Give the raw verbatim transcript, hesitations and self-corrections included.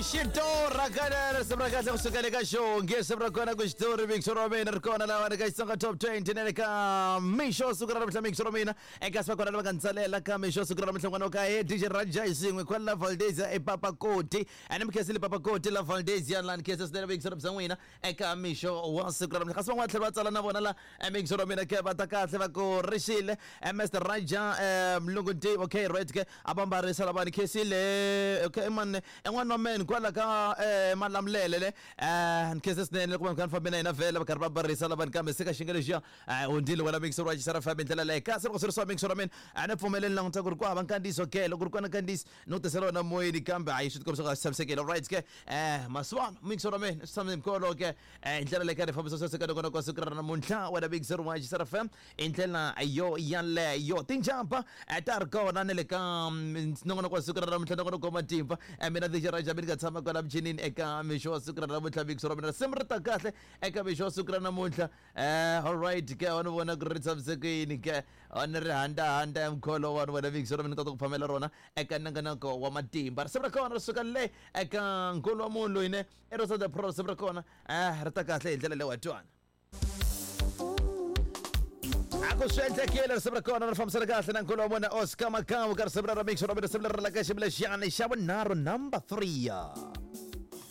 Xitora kana risimu ra kahle kusuka le ka xongi risimu ra kona ku xitori mixo ra mina ri kona laha ka Xitsonga Top twenty na le ka mixo siku ra namuntlha mixo ra mina eka siku kona lava nga ntsalela ka mixo siku ra namuntlha n'wana wa ka he D J Raja hi swin'we kwala Valdezia ePapakoti ene mi khensile Papakoti la Valdezia la ni khensa swinene mixo ra bya n'wina eka mixo wa siku ra namuntlha kasi van'wana tlhela va tsala na vona la mixo ra mina ke va ta kahle va ku rixile Mister Raja Mlungu Ntivo okay right ke a va mbarisa lava ni khensile okay man en'wana wa men kwala ka eh, Malamulele le eh ni khensa swinene loko va kha ni fambe na yena vhele va karhi va barisa lavani kambe se ka xinga lexiya eh hundzile wena mixo wa Xisara F M hi ndlela leyi kasi loko swi ri swa mixo ra mina a ni pfumeleli languta ku ri ku hava nkandziyiso ke loko ku ri kona nkandziyiso no tisela wena moyeni kambe hayi swi tikombisa ku a swi tshamisekile alright ke eh masivona mixo ra mina swi tshame mikolo ke eh hi ndlela leyi ka ni fambisa sweswo ka nongonoko wa siku ra namuntlha wena mixo wa Xisara F M hi ndlela yo yaleyo tinjamba ta ri kona na le ka nongonoko wa siku ra namuntlha nongonoko wa matimba mina D J Raja mi nga tshama kwala michinini eka mixo wa siku ra namuntlha mixo ra mina risimu ri ta kahle eka mixo wa siku ra namuntlha eh alright ke wa ni vona ku ri tshamisekile ke wa ni ri handa handa ya mkholo wa ni vona mixo ra mina kota ku phamela rona eka nongonoko wa matimba risimu ra kona ri suka le eka nkulu wa munhu loyi ne i Rosa the Pro risimu ra kona eh ri ta kahle hi ndlela leyi wa twana ku swi endlekile risimu ra kona ri fambisana kahle na nkulu wa vona Oscar Makamu ka risimu ra mixo ra mina risimu leri ra ka xivulexana xa vunharhu number three.